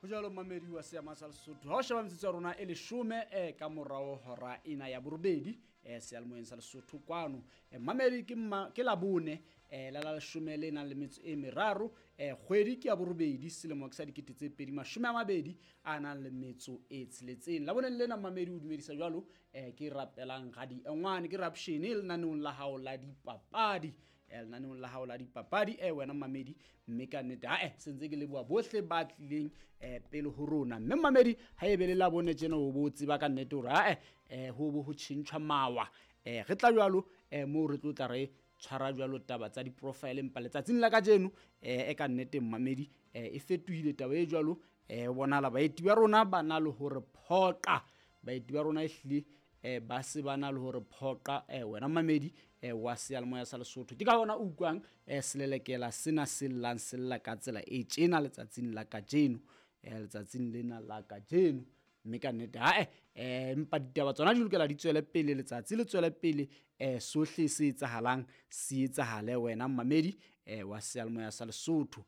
Ho jwalo mmamedi wa seama sa Lesotho, ha o sheba metsotso ya rona e 10 ka morao hora ena ya 8 seyalemoyeng sa Lesotho kwano. Mmamedi ke Labone la 10 le nang le metso e 3, kgwedi ke ya 8, selemo ke sa 2020 a nang le metso e 6. Laboneng lena mmamedi o dumedisa jwalo, ke rapelang radi engwane ke rapshene lenaneong la hao la dipapadi. Lenaneong la hao la dipapadi wena mmamedi, mme ka nnete ae sentse ke leboha bohle ba tlileng pele ho rona. Mme mmamedi ha e be le Labone tjena o bo tseba ka nnete hore ae ho bo ho tjhentjhwa mawa. Re tla jwalo moo re tlo tla re tshwara jwalo taba tsa di-profile, empa letsatsing la kajeno e ka nnete mmamedi e fetohile taba e jwalo. Bonahala baeti ba rona ba na le hore phoqa, baeti ba rona ehlile ba se ba na le hore phoqa wena mmamedi wa seyalemoya sa Lesotho. Ke ka hona o utlwang selelekela sena se llang se lla ka tsela e tjena letsatsing la kajeno, letsatsing lena la kajeno. Mme ka nnete ae empa ditaba tsona di lokela di tswele pele, letsatsi le tswele pele, sohle se etsahalang se etsahale wena mmamedi wa seyalemoya sa Lesotho.